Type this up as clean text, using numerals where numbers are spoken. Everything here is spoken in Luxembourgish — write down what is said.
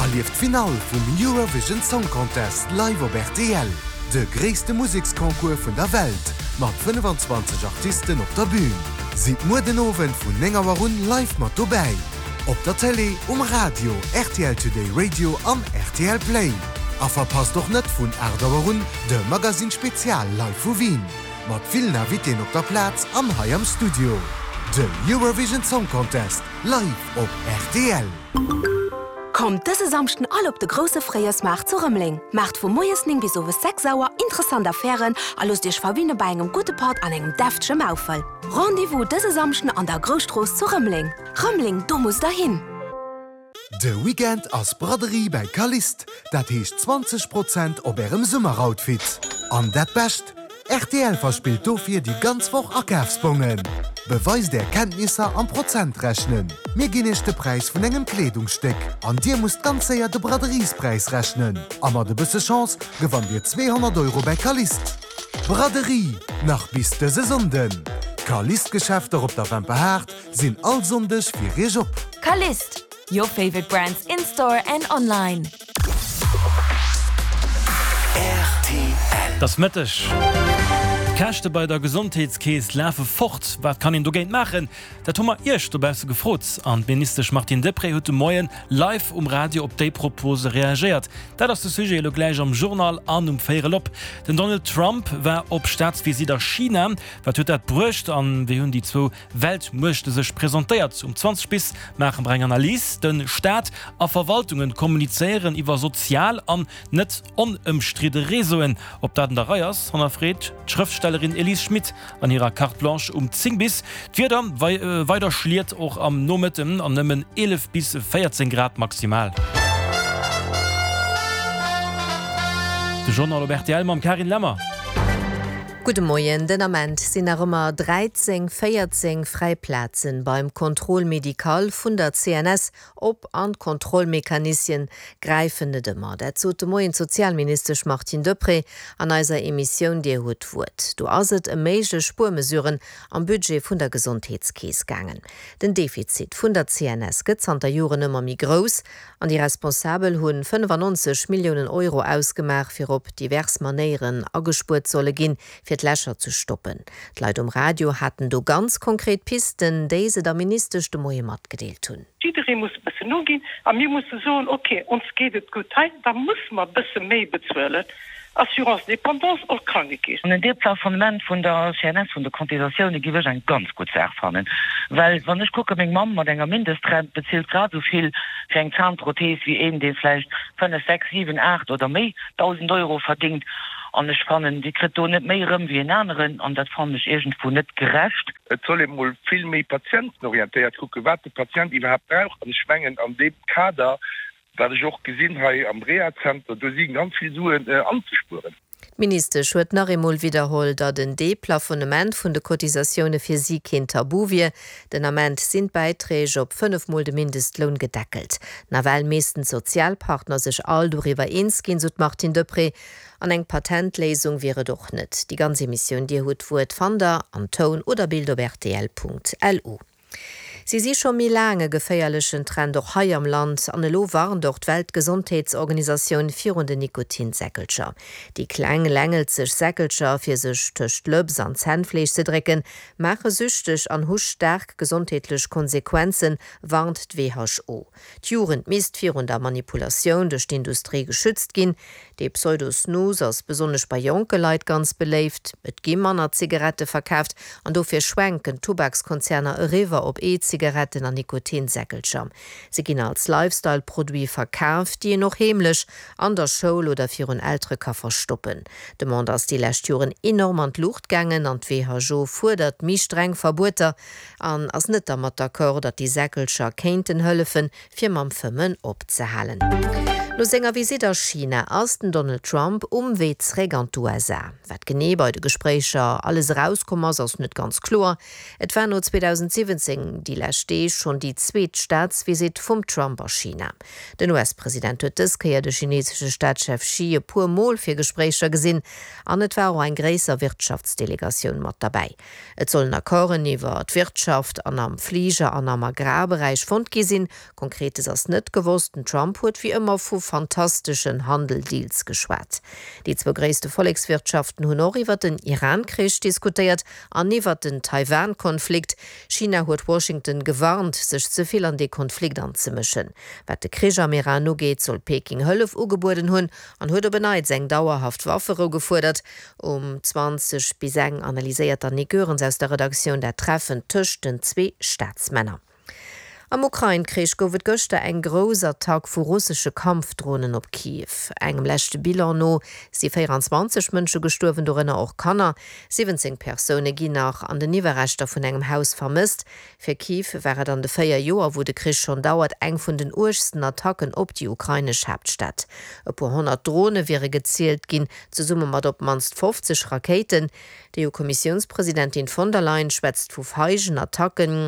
Erlieft d'Finall vum Eurovision Song Contest live op rtl, de gréisste Museksconcours vun der Welt mat 25 Artisten op der Bün. Sidd muer den Owend vun 9 Auer un live mat dobäi, op der Télé, um Radio, rtl Today Radio an rtl Play. A verpasst och net vun 8 Auer un de Magazine Spezial live vu Wien, mat villen Invitéen op der Plaz an hei am Studio. Den Eurovision Song Contest live op rtl. Kommt dëse Samschden all op de grousse Fréijoersmaart zu Rëmeleng. Maacht vu moies 9 bis owes 6 Auer interessant Affären a loosst iech verwinne bei engem gudde Patt an engem deftege Maufel. Rendez-vous dëse Samschden an der Grousstrooss zu Rëmeleng. Rëmeleng, do musst der hin! De Weekend ass Braderie bäi Calliste, dat heescht 20 Prozent op ärem Summeroutfit. An dat Bescht, Rtl verspillt dofir déi ganz Woch Akafsbongen. Beweist är Kenntnisser am Prozentrechnen. Mir ginn iech de Präis vun engem Kleedungsstéck an dir musst ganz séier de Braderiespräis rechnen. A mat e bësse Chance gewannt dir 200 Euro bäi Calliste. Braderie nach bis dëse Sonnden! D'Calliste-Geschäfter op der Wemperhaart sinn all Sonndeg fir iech op. Calliste, your favorite brands in store and online. Et ass Mëtteg. D'Käschte bei der Gesondheetskeess lafe fort. Wat kann een dogéint maachen? Dat hu mer Iech dobausse gefrot. An d'Ministesch Martine Deprez huet de Moien live um Radio op déi Propose reagéiert. Dat ass de Sujet elo gläich am Journal an um Véierel op. Den Donald Trump war op Staatsvisitt a China. Wat huet dat bruecht an wéi hunn déi zwou Weltmuechte sech presentéiert. Um 20 bis maache mer eng Analys. De Staat a Verwaltungen kommunizéieren iwwer sozial an net onëmstridde Réseauen. Ob dat an der Rei ass, hannerfreet d'Schrëftstellerin Elise Schmit an hirer Carte Blanche um 10 bis. D'Wieder weider Schliet och am Nomëtten an nëmmen 11 bis 14 Grad maximal. De Journal op rtl mam Carine Lemmer. Gudde Moien, Den Ament sinn nach ëmmer 13, 14 fräi Plazen beim Contrôle médical vun der CNS op an d'Kontrollmechanisien gräifen net ëmmer. Dat sot de Moien d'Sozialministesch Martine Deprez an eiser Emissioun Dir hutt d'Wuert. Do ass et ëm méiglech Spuermesuren am Budget vun der Gesondheetskeess gaangen. Den Defizit vun der CNS gëtt zanter Joren ëmmer méi grouss An déi Responsabel hu 95 Milliounen Euro ausgemaach, fir op divers Manéieren agespuert solle ginn, fir d'Lächer ze stoppen. D'Leit um Radio haten do ganz konkret Pisten, déi se der Ministesch de Moie matgedeelt hunn. Jidderee muss e bëssen noginn a mir musse soen, ok, ons geet et gutt hei, da musse mer e bësse méi bezuelen. Assurance dépendance och Krankekeess. An en Deplafonnement vun der CNS, vun de Cotisatioune giff ech eng ganz gutt Saach fannen, well wann ech kucke meng Mamm mat enger Mindestrent bezilt grad esou vill fir eng Zahnprothese wéi een dee vläicht 5, 6, 7, 8 oder méi 1.000 Euro verdingt an ech fannen déi kritt do net méi erëm wéi en aneren an dat fannen ech iergendwou net gerecht. Et soll ee mol vill méi patientenorientéiert kucken, wat de Patient iwwerhaapt brauch an ech mengen an deem Kader Wat ech och gesinn hei am Rehazenter, do si ganz vill Suen anzespueren. D'Ministesch huet nach eemol widderholl, datt en Deplafonnement vun de Cotisatioune fir si keen Tabu wier. Den Ament sinn d'Bäiträg op 5 Mol de Mindestloun gedeckelt. Nawell missten d'Sozialpartner sech all doriwwer eens ginn, sou d'Martine Deprez. An eng Patentléisung wier et och net. Déi ganz Emissioun Dir hutt d'Wuert fannt der an Toun oder Bild op rtl.lu. Si si scho méi laang e geféierlechen Trend och hei am Land an elo warnt och d'Weltgesondheetsorganisatioun virun den Nikotinsäckelcher. Déi kleng längelzeg Säckelcher, fir sech tëscht d'Lëps an d'Zännfleesch ze drécken, maache süchteg an hu staark gesondheetlech Konsequenzen, warnt d'WHO. D'Jugend misst virun der Manipulatioun duerch d'Industrie geschützt ginn. Dee Pseudo-Snus ass besonnesch bei jonke Leit ganz beléift. Et gi manner Zigarette verkaaft an dofir schwenken d'Tubakskonzerner eriwwer op E-Zigaretten an Nikotinsäckelcher. Se ginn als Lifestyle-Produit verkaaft, déi een och heemlech an der Schoul oder virun Eltere ka verstoppen. D'Demande ass déi lescht Joren enorm an d'Luucht gaangen an d'WHO fuerdert méi streng Verbueter An ass net dermat d'accord, datt déi Säckelcher kéinten hëllefen, fir mam Fëmmen opzehalen. No senger Visitt a China ass den Donald Trump um Wee zréck an d'USA. Wat genee bei de Gespréicher alles erauskomm ass, ass net ganz kloer. Et war no 2017 déi lescht Deeg schonn déi zweet Staatsvisitt vum Trump a China. Den US-President huet dës Kéier de chinesesche Staatschef Xi e puer Mol fir Gespréicher gesinn an et war och eng gréisser Wirtschaftsdelegatioun mat derbäi. Et sollen Accorden iwwer d'Wirtschaft an am Fliger an am Agrarberäich fonnt gi sinn. Konkretes ass net gewosst. Den Trump huet wéi ëmmer vu fantasteschen Handel-Deals geschwat. Déi zwou gréisste Vollekswirtschaften hunn och iwwer den Iran-Krich diskutéiert an iwwer den Taiwan-Konflikt. China huet Washington gewarnt, sech ze vill an dee Konflikt anzemëschen. Wat de Krich am Iran ugeet, soll Peking Hëllef ugebueden hunn an huet op en Neits eng dauerhaft Wafferou gefuerdert. Um 20 bis eng analyséiert d'Annick Goerens aus der Redaktioun dat Treffen tëscht den zwee Staatsmänner. Am Ukrain-Krich gouf et gëschter eng grouss Attack vu russesche Kampfdronen op Kiew. Engem leschte Bilan no si 24 Mënsche gestuerwen, dorënner och Kanner. 17 Persoune ginn nach an den Iwwerreschter vun engem Haus vermësst. Fir Kiew war et an de 4 Joer, wou de Krich schonn dauert, eng vun den uergsten Attacken op déi ukrainesch Haaptstad. E puer 100 Drone wiere gezielt ginn, zesumme mat op d'mannst 50 Rakéiten. D'EU-Kommissiounspresidentin von der Leyen schwätzt vu feigen Attacken.